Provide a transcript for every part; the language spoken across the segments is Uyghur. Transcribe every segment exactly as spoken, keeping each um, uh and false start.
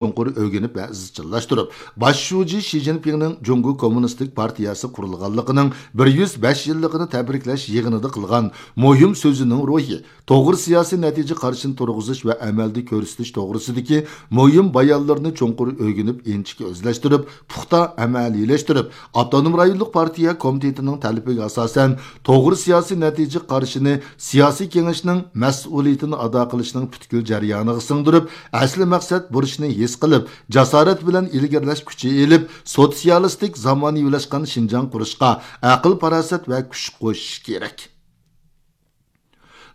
چوڭقۇر ئۆگىنىپ ۋە ئىزچىللاشتۇرۇپ، باش شۇجى شى جىنپىڭنىڭ جۇڭگو كوممۇنىستىك پارتىيەسى قۇرۇلغانلىقىنىڭ بىر يۈز بەش يىللىقىنى تەبرىكلەش يىغىنىدا قىلغان مۇھىم سۆزىنىڭ روھى، توغرا سىياسىي نەتىجە قارىشىنى تۇرغۇزۇش ۋە ئەمەلدە كۆرسىتىش توغرىسىدىكى مۇھىم بايانلىرىنى چوڭقۇر ئۆگىنىپ، ئىنچىكە ئۆزلەشتۈرۈپ، پۇختا ئەمەلىيلەشتۈرۈپ، ئاپتونوم رايونلۇق پارتىيە كومىتېتىنىڭ تەلىپىگە ئاساسەن، توغرا سىياسىي نەتىجە قارىشىنى سىياسىي كېڭەشنىڭ مەسئۇلىيىتىنى ئادا قىلىشنىڭ پۈتكۈل جەريانىغا سىڭدۈرۈپ، ئەسلى مەقسەت بۇرچىنى ھېس قىلىپ، جاسارەت بىلەن ئىلگىرىلەش كۈچى ئېلىپ، سوتسىيالىستىك زامانىۋىلاشقان شىنجاڭ قۇرۇشقا ئەقىل-پاراسەت ۋە كۈچ قوشۇش كېرەك.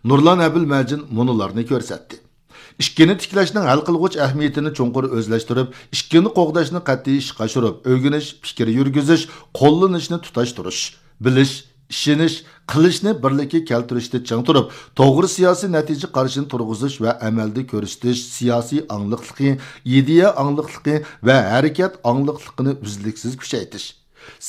نۇرلان ئەبىلمەجىن مۇنۇلارنى كۆرسەتتى. ئىككىنى تىكلەشنىڭ ھەل قىلغۇچ ئەھمىيىتىنى چوڭقۇر ئۆزلەشتۈرۈپ، ئىككىنى قوغداشنى قەتئىي ئىشقا ئاشۇرۇپ، ئۆگىنىش، پىكىر يۈرگۈزۈش، قوللىنىشنى تۇتاشتۇرۇش، بىلىش، ئىشىنىش، قىلىشنى بىرلىككە كەلتۈرۈشتە چىڭ تۇرۇپ، توغرا سىياسىي نەتىجە قارىشىنى تۇرغۇزۇش ۋە ئەمەلدە كۆرسىتىش سىياسىي ئاڭلىقلىقى، ئىدىيە ئاڭلىقلىقى ۋە ھەرىكەت ئاڭلىقلىقىنى ئۈزلۈكسىز كۈچەيتىش.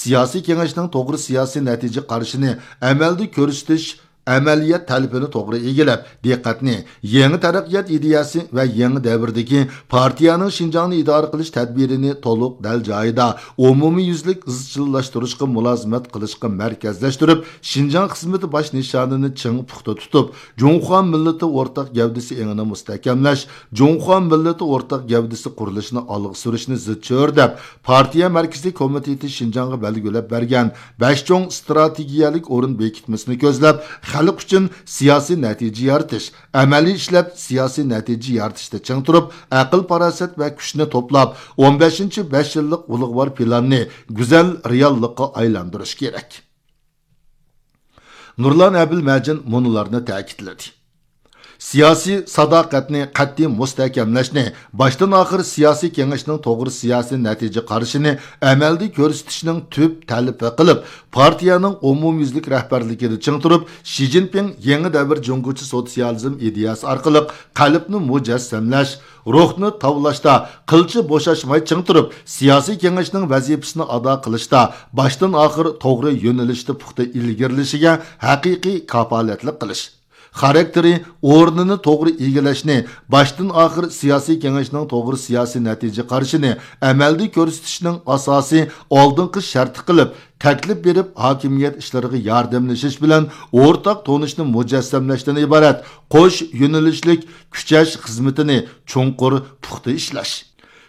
سىياسىي كېڭەشنىڭ توغرا سىياسىي نەتىجە قارىشىنى ئەمەلدە كۆرسىتىش، ئەمەلىيەت تەلىپىنى توغرا ئىگىلەپ، دىققەتنى يېڭى تەرەققىيات ئىدىيەسى ۋە يېڭى دەۋردىكى پارتىيەنىڭ شىنجاڭنى ئىدارە قىلىش تەدبىرىنى تولۇق دەل جايىدا، ئومۇميۈزلۈك ئىزچىللاشتۇرۇشقا مۇلازىمەت قىلىشقا مەركەزلەشتۈرۈپ، شىنجاڭ خىزمىتى باش نىشانىنى چىڭ پۇختا تۇتۇپ، جۇڭخۇا مىللىتى ئورتاق گەۋدىسى ئېڭىنى مۇستەھكەملەش، جۇڭخۇا مىللىتى ئورتاق گەۋدىسى قۇرۇلۇشىنى ئالغا سۈرۈشنى زىچ چۆرىدەپ، پارتىيە مەركىزىي كومىتېتى شىنجاڭغا بەلگىلەپ بەرگەن بەش چوڭ ئىستراتېگىيەلىك ئورۇن بېكىتمىسىنى كۆزلەپ، خەلق ئۈچۈن سىياسىي نەتىجە يارىتىش، ئەمەلىي ئىشلەپ سىياسىي نەتىجە يارىتىشتا چىڭ تۇرۇپ، ئەقىل-پاراسەت ۋە كۈچنى توپلاپ، ئون بەشىنچى بەش يىللىق ئۇلۇغۋار پىلاننى گۈزەل رېئاللىققا ئايلاندۇرۇش كېرەك. نۇرلان ئەبىلمەجىن مۇنۇلارنى تەكىتلىدى. سىياسىي ساداقەتنى قەتئىي مۇستەھكەملەشنى، باشتىن ئاخىر سىياسىي كېڭەشنىڭ توغرا سىياسىي نەتىجە قارىشىنى ئەمەلدە كۆرسىتىشنىڭ تۈپ تەلىپى قىلىپ، پارتىيەنىڭ ئومۇميۈزلۈك رەھبەرلىكىدە چىڭ تۇرۇپ، شى جىنپىڭ يېڭى دەۋر جۇڭگوچە سوتسىيالىزم ئىدىيەسى ئارقىلىق قەلبنى مۇجەسسەملەش، روھنى تاۋلاشتا قىلچە بوشاشماي چىڭ تۇرۇپ، سىياسىي كېڭەشنىڭ ۋەزىپىسىنى ئادا قىلىشتا باشتىن ئاخىر توغرا يۆنىلىشتە پۇختا ئىلگىرىلىشىگە ھەقىقىي كاپالەتلىك قىلىش. خاراكتېرى، ئورنىنى توغرا ئىگىلەشنى، باشتىن ئاخىر سىياسىي كېڭەشنىڭ توغرا سىياسىي نەتىجە قارىشىنى ئەمەلدە كۆرسىتىشنىڭ ئاساسىي ئالدىنقى شەرتى قىلىپ، تەكلىپ بېرىپ، ھاكىمىيەت ئىشلىرىغا ياردەملىشىش بىلەن ئورتاق تونۇشنى مۇجەسسەملەشتىن ئىبارەت قوش يۆنىلىشلىك كۈچەش خىزمىتىنى چوڭقۇر پۇختا ئىشلەش.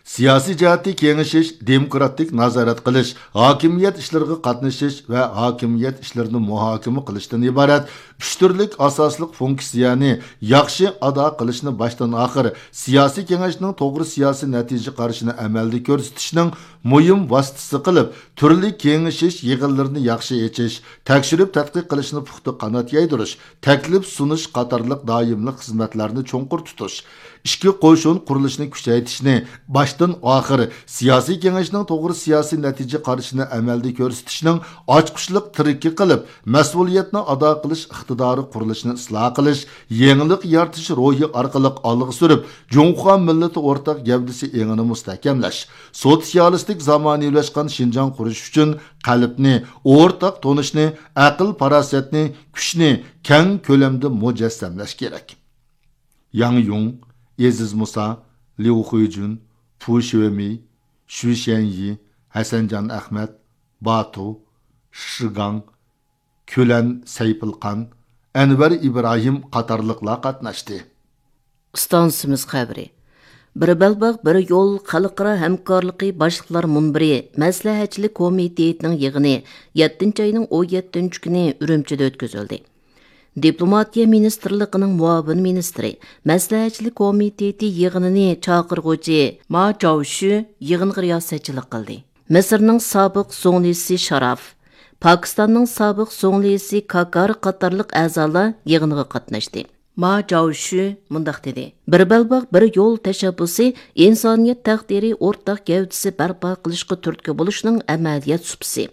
سىياسىي جەھەتتە كېڭىشىش، دېموكراتىك نازارەت قىلىش، ھاكىمىيەت ئىشلىرىغا قاتنىشىش ۋە ھاكىمىيەت ئىشلىرىنى مۇھاكىمە قىلىشتىن ئىبارەت ئۈچ تۈرلۈك ئاساسلىق فۇنكسىيەنى ياخشى ئادا قىلىشنى باشتىن ئاخىر سىياسىي كېڭەشنىڭ توغرا سىياسىي نەتىجە قارىشىنى ئەمەلدە كۆرسىتىشنىڭ مۇھىم ۋاسىتىسى قىلىپ، تۈرلۈك كېڭىشىش يىغىنلىرىنى ياخشى ئېچىش، تەكشۈرۈپ تەتقىق قىلىشنى پۇختا قانات يايدۇرۇش، تەكلىپ سۇنۇش قاتارلىق دائىملىق خىزمەتلەرنى چوڭقۇر تۇتۇش، ئىچكى قوشۇن قۇرۇلۇشىنى كۈچەيتىشنى باشتىن ئاخىر سىياسىي كېڭەشنىڭ توغرا سىياسىي نەتىجە قارىشىنى ئەمەلدە كۆرسىتىشنىڭ ئاچقۇچلۇق تىرىكى قىلىپ، مەسئۇلىيەتنى ئادا قىلىش ئىقتىدارى قۇرۇلۇشىنى ئىسلاھ قىلىش، يېڭىلىق يارىتىش روھى ئارقىلىق ئالغا سۈرۈپ، جۇڭخۇا مىللىتى ئورتاق گەۋدىسى ئېڭىنى مۇستەھكەملەش، سوتسىيالىستىك زامانىۋىلاشقان شىنجاڭ قۇرۇش ئۈچۈن قەلبنى، ئورتاق تونۇشنى، ئەقىل-پاراسەتنى، كۈچنى كەڭ كۆلەمدە مۇجەسسەملەش كېرەك. ياڭ يۇڭ، ئېزىز مۇسا، ليۇ خۇيجۈن، پۇ شۆمېي، شۈ شيەنيى، ھەسەنجان ئەخمەت، باتۇ، شىگاڭ، كۈلەن سەيپىلخان، ئەنۋەر ئىبراھىم قاتارلىقلار قاتناشتى. ئىستانسىمىز خەۋىرى. بىر بەلباغ، بىر يول خەلقئارا ھەمكارلىقى باشلىقلار مۇنبىرى مەسلىھەتچىلىك كومىتېتىنىڭ يىغىنى يەتتىنچى ئاينىڭ ئون يەتتىنچى كۈنى ئۈرۈمچىدە ئۆتكۈزۈلدى. دىپلوماتىيە مىنىستىرلىقىنىڭ مۇئاۋىن مىنىستىرى، مەسلىھەتچىلىك كومىتېتى يىغىنىنى چاقىرغۇچى ما جاۋشۈ يىغىنغا رىياسەتچىلىك قىلدى. مىسىرنىڭ سابىق زۇڭلىسى شاراف، پاكىستاننىڭ سابىق زۇڭلىسى كاكار قاتارلىق ئەزالار يىغىنغا قاتناشتى. ما جاۋشۈ مۇنداق دېدى: بىر بەلباغ، بىر يول تەشەببۇسى ئىنسانىيەت تەقدىرى ئورتاق گەۋدىسى بەرپا قىلىشقا تۈرتكە بولۇشنىڭ ئەمەلىيەت سۇپىسى.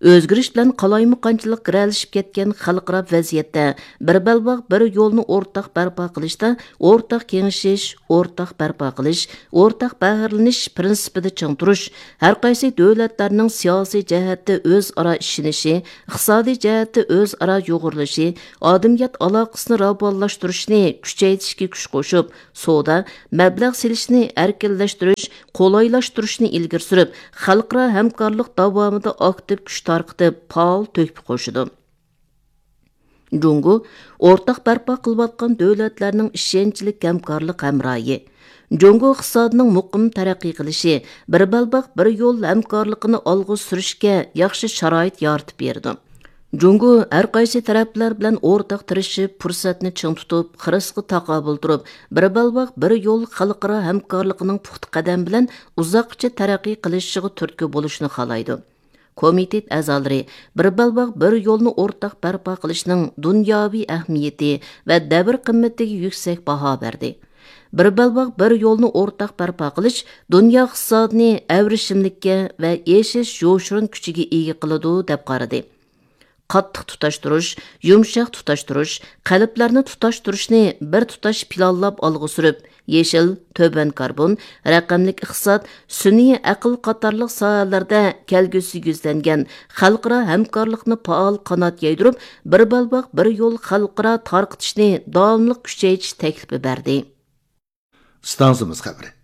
ئۆزگىرىش بىلەن قالايمىقانچىلىق گىرەلىشىپ كەتكەن خەلقئارا ۋەزىيەتتە بىر بەلباغ، بىر يولنى ئورتاق بەرپا قىلىشتا ئورتاق كېڭىشىش، ئورتاق بەرپا قىلىش، ئورتاق بەھرىلىنىش پىرىنسىپىدا چىڭ تۇرۇش، ھەرقايسى دۆلەتلەرنىڭ سىياسىي جەھەتتە ئۆزئارا ئىشىنىشى، ئىقتىسادىي جەھەتتە ئۆزئارا يۇغۇرۇلۇشى، ئادەمىيەت ئالاقىسىنى راۋانلاشتۇرۇشنى كۈچەيتىشكە كۈچ قوشۇپ، سودا، مەبلەغ سېلىشنى ئەركىنلەشتۈرۈش، قولايلاشتۇرۇشنى ئىلگىرى سۈرۈپ، خەلقئارا ھەمكارلىق داۋامىدا ئاكتىپ كۈچ تارقىتىپ، پائال تۆھپە قوشىدۇ. جۇڭگو ئورتاق بەرپا قىلىۋاتقان دۆلەتلەرنىڭ ئىشەنچلىك ھەمكارلىق ھەمراھى. جۇڭگو ئىقتىسادىنىڭ مۇقىم تەرەققىي قىلىشى، بىر بەلباغ، بىر يول ھەمكارلىقىنى ئالغا سۈرۈشكە ياخشى شارائىت يارىتىپ بېرىدۇ. جۇڭگو ھەر قايسى تەرەپلەر بىلەن ئورتاق تىرىشىپ، پۇرسەتنى چىڭ تۇتۇپ، خىرىسقا تاقابىل تۇرۇپ، بىر بەلباغ، بىر يول خەلقئارا ھەمكارلىقىنىڭ پۇختا قەدەم بىلەن ئۇزاققىچە تەرەققىي قىلىشىغا تۈرتكە بولۇشنى خالايدۇ. كومىتېت ئەزالىرى بىر بەلباغ، بىر يولنى ئورتاق بەرپا قىلىشنىڭ دۇنياۋى ئەھمىيىتى ۋە دەۋر قىممىتىگە يۈكسەك باھا بەردى. بىر بەلباغ، بىر يولنى ئورتاق بەرپا قىلىش دۇنيا ئىقتىسادىنى ئەۋرىشىملىككە ۋە ئېشىش يوشۇرۇن كۈچىگە ئىگە قىلىدۇ، دەپ قارىدى. قاتتىق تۇتاشتۇرۇش، يۇمشاق تۇتاشتۇرۇش، قەلبلەرنى تۇتاشتۇرۇشنى بىر تۇتاش پىلانلاپ ئالغا سۈرۈپ، يېشىل، تۆۋەن كاربون، رەقەملىك ئىقتىساد، سۈنئىي ئەقىل قاتارلىق ساھەلەردە كەلگۈسىگە يۈزلەنگەن خەلقئارا ھەمكارلىقنى پائال قانات يايدۇرۇپ، بىر بەلباغ، بىر يول خەلقئارا تارقىتىشنى داۋاملىق كۈچەيتىش تەكلىپى بەردى. ئىستانسىمىز خەۋىرى.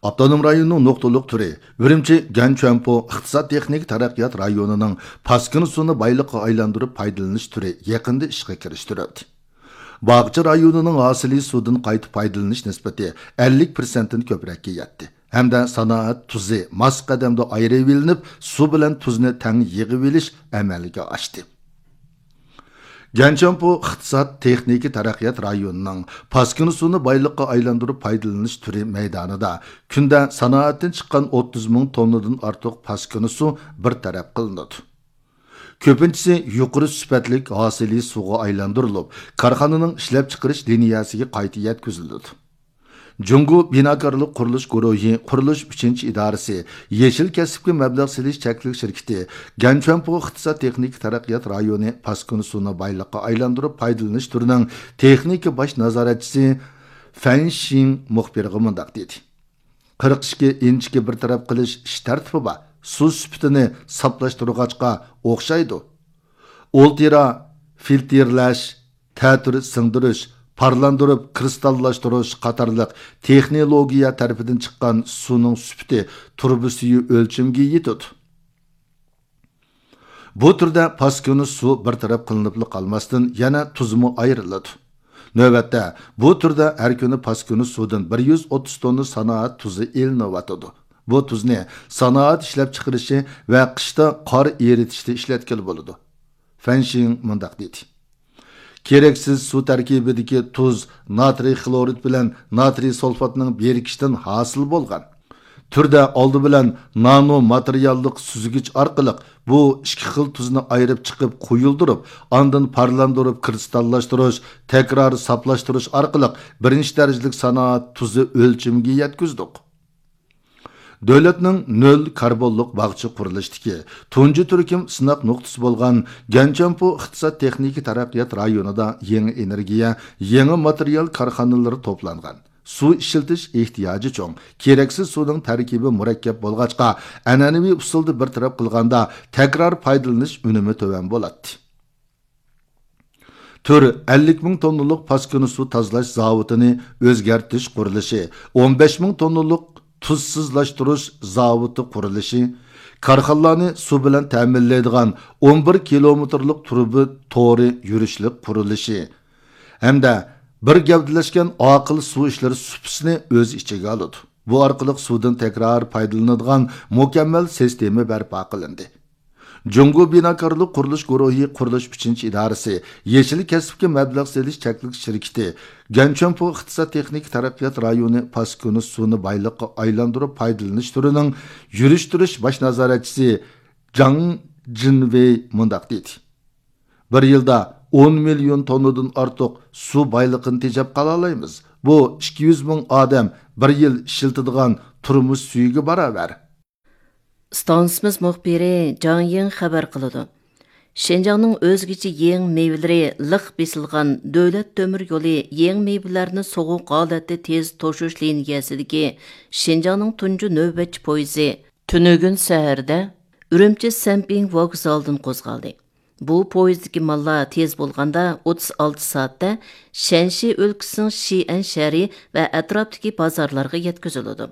ئاپتونوم رايوننىڭ نۇقتىلىق تۈرى ئۈرۈمچى گەنچۈەنپو ئىقتىساد تېخنىكا تەرەققىيات رايونىنىڭ پاسكىنا سۇنى بايلىققا ئايلاندۇرۇپ پايدىلىنىش تۈرى يېقىندا ئىشقا كىرىشتۈرۈلدى. باغچە رايونىنىڭ ھاسىلى سۇدىن قايتا پايدىلىنىش نىسبىتى ئەللىك پىرسەنتتىن كۆپرەككە يەتتى ھەمدە سانائەت تۇزى ماس قەدەمدە ئايرىۋېلىنىپ، سۇ بىلەن تۇزنى تەڭ يىغىۋېلىش ئەمەلگە ئاشتى. گەنچۈەنپو ئىقتىساد تېخنىكا تەرەققىيات رايونىنىڭ پاسكىنا سۇنى بايلىققا ئايلاندۇرۇپ پايدىلىنىش تۈرى مەيدانىدا كۈندە سانائەتتىن چىققان ئوتتۇز مىڭ توننىدىن ئارتۇق پاسكىنا سۇ بىر تەرەپ قىلىنىدۇ. كۆپىنچىسى يۇقىرى سۈپەتلىك ھاسىلى سۇغا ئايلاندۇرۇلۇپ، كارخانىنىڭ ئىشلەپچىقىرىش لىنىيەسىگە قايتا يەتكۈزۈلىدۇ. جۇڭگو بىناكارلىق قۇرۇلۇش گۇرۇھى قۇرۇلۇش ئۈچىنچى ئىدارىسى يېشىل كەسىپكە مەبلەغ سېلىش چەكلىك شىركىتى گەنچۈەنپو ئىقتىساد تېخنىكا تەرەققىيات رايونى پاسكىنا سۇنى بايلىققا ئايلاندۇرۇپ پايدىلىنىش تۈرىنىڭ تېخنىكا باش نازارەتچىسى فەن شىڭ مۇخبىرغا مۇنداق دېدى: قىرىق ئىككى ئىنچىكە بىر تەرەپ قىلىش ئىش تەرتىپى بار. سۇ سۈپىتىنى ساپلاشتۇرغاچقا ئوخشايدۇ. ئۇلترا فىلتىرلەش، تەتۈر سىڭدۈرۈش، پارلاندۇرۇپ كىرىستاللاشتۇرۇش قاتارلىق تېخنولوگىيە تەرىپىدىن چىققان سۇنىڭ سۈپىتى تۇرۇبا سۈيى ئۆلچىمىگە يېتىدۇ. بۇ تۈردە پاسكىنا سۇ بىر تەرەپ قىلىنىپلا قالماستىن، يەنە تۇزمۇ ئايرىلىدۇ. نۆۋەتتە، بۇ تۈردە ھەر كۈنى پاسكىنا سۇدىن بىر يۈز ئوتتۇز توننا سانائەت تۇزى ئېلىنىۋاتىدۇ. بۇ تۇزنى سانائەت ئىشلەپچىقىرىشى ۋە قىشتا قار ئېرىتىشتە ئىشلەتكىلى بولىدۇ. فەن شىڭ مۇنداق دېدى: كېرەكسىز سۇ تەركىبىدىكى تۇز ناترىي خلورىد بىلەن ناترىي سۇلفاتنىڭ بىرىكىشىدىن ھاسىل بولغان. تۈردە ئالدى بىلەن نانو ماتېرىياللىق سۈزگۈچ ئارقىلىق بۇ ئىككى خىل تۇزنى ئايرىپ چىقىپ قويۇلدۇرۇپ، ئاندىن پارلاندۇرۇپ كىرىستاللاشتۇرۇش، تەكرار ساپلاشتۇرۇش ئارقىلىق بىرىنچى دەرىجىلىك سانائەت تۇزى ئۆلچىمىگە يەتكۈزدۇق. دۆلەتنىڭ نۆل كاربونلۇق باغچە قۇرۇلۇشىدىكى تۇنجى تۈركۈم سىناق نۇقتىسى بولغان گەنچۈەنپو ئىقتىساد تېخنىكا تەرەققىيات رايونىدا يېڭى ئېنېرگىيە، يېڭى ماتېرىيال كارخانىلىرى توپلانغان. سۇ ئىشلىتىش ئېھتىياجى چوڭ، كېرەكسىز سۇنىڭ تەركىبى مۇرەككەپ بولغاچقا، ئەنئەنىۋى ئۇسۇلدا بىر تەرەپ قىلغاندا، تەكرار پايدىلىنىش ئۈنۈمى تۆۋەن بولاتتى. تۈر ئەللىك مىڭ توننىلىق پاسكىنا سۇ تازىلاش زاۋۇتىنى ئۆزگەرتىش قۇرۇلۇشى، ئون بەش مىڭ توننىلىق تۇزسىزلاشتۇرۇش زاۋۇتى قۇرۇلۇشى، كارخانىلارنى سۇ بىلەن تەمىنلەيدىغان ئون بىر كىلومېتىرلىق تۇرۇبا تورى يۈرۈشلۈك قۇرۇلۇشى ھەمدە بىر گەۋدىلەشكەن ئاقىل سۇ ئىشلىرى سۇپىسىنى ئۆز ئىچىگە ئالىدۇ. بۇ ئارقىلىق سۇدىن تەكرار پايدىلىنىدىغان مۇكەممەل سىستېما بەرپا قىلىندى. جۇڭگو بىناكارلىق قۇرۇلۇش گۇرۇھى قۇرۇلۇش ئۈچىنچى ئىدارىسى يېشىل كەسىپكە مەبلەغ سېلىش چەكلىك شىركىتى گەنچۈەنپو ئىقتىساد تېخنىكا تەرەققىيات رايونى پاسكىنا سۇنى بايلىققا ئايلاندۇرۇپ پايدىلىنىش تۈرىنىڭ يۈرۈشتۈرۈش باش نازارەتچىسى جاڭ جىنۋېي مۇنداق دېدى: بىر يىلدا ئون مىليون توننىدىن ئارتۇق سۇ بايلىقىنى تېجەپ قالالايمىز. بۇ ئىككى يۈز مىڭ ئادەم بىر يىل ئىشلىتىدىغان تۇرمۇش سۈيىگە باراۋەر. ئىستانسىمىز مۇخبىرى جاڭ يىڭ خەۋەر قىلىدۇ. شىنجاڭنىڭ ئۆزگىچە يېڭى مېۋىلىرى لىق بېسىلغان دۆلەت تۆمۈر يولى يېڭى مېۋىلەرنى سوغۇق ھالەتتە تېز توشۇش لىنىيەسىدىكى شىنجاڭنىڭ تۇنجى نۆۋەتچى پويىزى تۈنۈگۈن سەھەردە ئۈرۈمچى سەنپىڭ ۋوگزالىدىن قوزغالدى. بۇ پويىزدىكى ماللار تېز بولغاندا ئوتتۇز ئالتە سائەتتە شەنشى ئۆلكىسىنىڭ شىئەن شەھىرى ۋە ئەتراپتىكى بازارلارغا يەتكۈزۈلىدۇ.